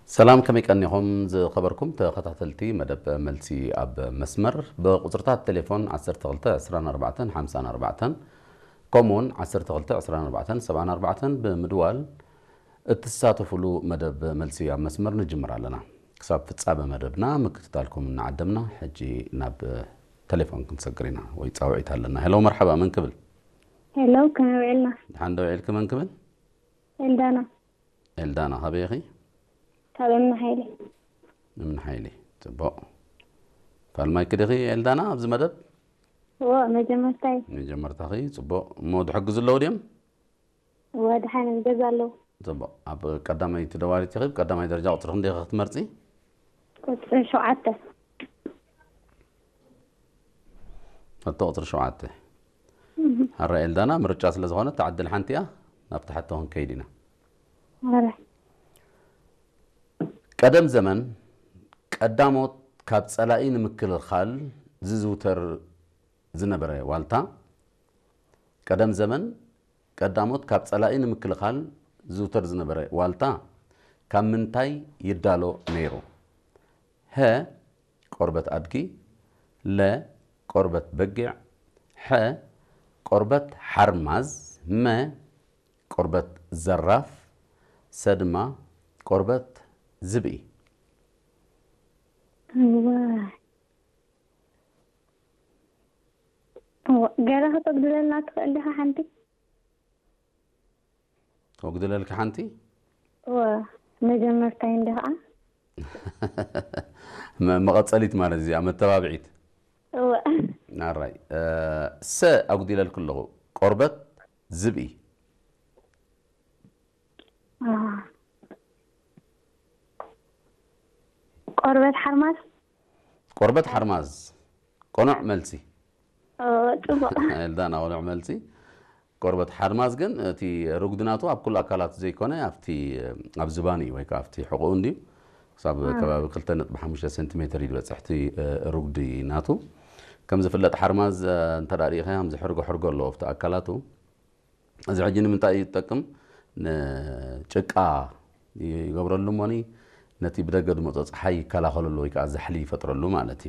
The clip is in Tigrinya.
ሰላም፣ ከመይ ቀኒኹም ዝኸበርኩም ተኸታተልቲ መደብ መልሲ ኣብ መስመር? ብቁጽርታት ቴሌፎን ዓሰርተ ክልተ ዕስራን ኣርባዕተን ሓምሳን ኣርባዕተን፣ ከምኡውን ዓሰርተ ክልተ ዕስራን ኣርባዕተን ሰብዓን ኣርባዕተን ብምድዋል እትሳተፉሉ መደብ መልሲ ኣብ መስመር ንጅምር ኣለና። ክሳብ ፍጻመ መደብና ምክትታልኩም እናዓደምና፣ ሕጂ ናብ ቴሌፎን ክንሰግር ኢና፣ ወይ ጻውዒት ኣለና። ሄሎ፣ መርሓባ፣ መን ክብል? ሄሎ፣ ከመይ ውዒልና? ድሓን ዶ ውዒልኪ? መን ክብል? ኤልዳና። ኤልዳና፣ ካበይ ኢኺ? ካብ እምኒ ሓይሊ። እምኒ ሓይሊ። ጽቡቕ። ፋልማይኪ ዲኺ ኤልዳና ኣብዚ መደብ? እዎ፣ መጀመርታይ። መጀመርታኺ፣ ጽቡቕ። እሞ ዝሕግዙ ኣለዉ ድዮም? እዎ፣ ድሓን ኣብ ገዛ ኣለዉ። ጽቡቕ። ኣብ ቀዳማይ ተደዋሊት ኢኺ፣ ቀዳማይ ደረጃ ቁጽሪ ክንደይ ኢኺ ክትመርጺ? ቁጽሪ ሸውዓተ። ሕቶ ቁጽሪ ሸውዓተ። እህ። ሕራይ ኤልዳና፣ ምርጫ ስለ ዝኾነ፣ እታ ዕድል ሓንቲ እያ፣ ናብቲ ሕቶ ክንከይድ ኢና። ሕራይ። ቀደም ዘመን ቀዳሞት ካብ ጸላኢ ንምክልኻል ዝዝውተር ዝነበረ ዋልታ፣ ቀደም ዘመን ቀዳሞት ካብ ጸላኢ ንምክልኻል ዝዝውተር ዝነበረ ዋልታ ካብ ምንታይ ይዳሎ ነይሩ? ሀ፣ ቆርበት ኣድጊ፣ ለ፣ ቆርበት በጊዕ፣ ሐ፣ ቆርበት ሓርማዝ፣ መ፣ ቆርበት ዘራፍ፣ ሰ ድማ ቆርበት ዝብኢ። እዋ። እዋ፣ ገለ ከተጉድለልና ትኽእል ዲኻ ሓንቲ? ከጉድለልኪ ሓንቲ? እዋ፣ መጀመርታይ እንዲ ኸዓ። መ-፣ መቐጸሊት ማለት እዚኣ፣ መተባብዒት። እዋ። ኣራይ፣ እ፣ ሰ ኣጉዲለልኪ ኣለኹ። ቆርበት ዝብኢ። አ። ቆርበት ሓርማዝ? ቆርበት ሓርማዝ። ቅኑዕ መልሲ። ኦ፣ ጽቡቕ። ኤልዳና፣ ቅኑዕ መልሲ። ቆርበት ሓርማዝ ግን እቲ ርጉዲ ናቱ ኣብ ኩሉ ኣካላቱ ዘይኮነ ኣብቲ፣ ኣብ ዝባኑ እዩ ወይ ከዓ ኣብቲ ሕቖኡ እንድዩ። ክሳብ አ። ከባቢ ክልተ ነጥቢ ሓሙሽተ ሴንቲሜትር እዩ ዝበጽሕ እቲ፣ እ፣ ርጉዲ ናቱ። ከም ዝፍለጥ ሓርማዝ፣ እ፣ እንተ ደኣ ርኢኻዮ ከምዚ ሕርጎ ሕርጎ ኣለዎ ኣብቲ ኣካላቱ። እዚ ሕጂ ንምንታይ እዩ ዝጠቅም? ንጭቃ ይገብረሉ እሞኒ ነቲ ብደገ ዝመጾ ጸሓይ ይከላኸለሉ ወይ ከዓ ዛሕሊ ይፈጥረሉ ማለት እዩ።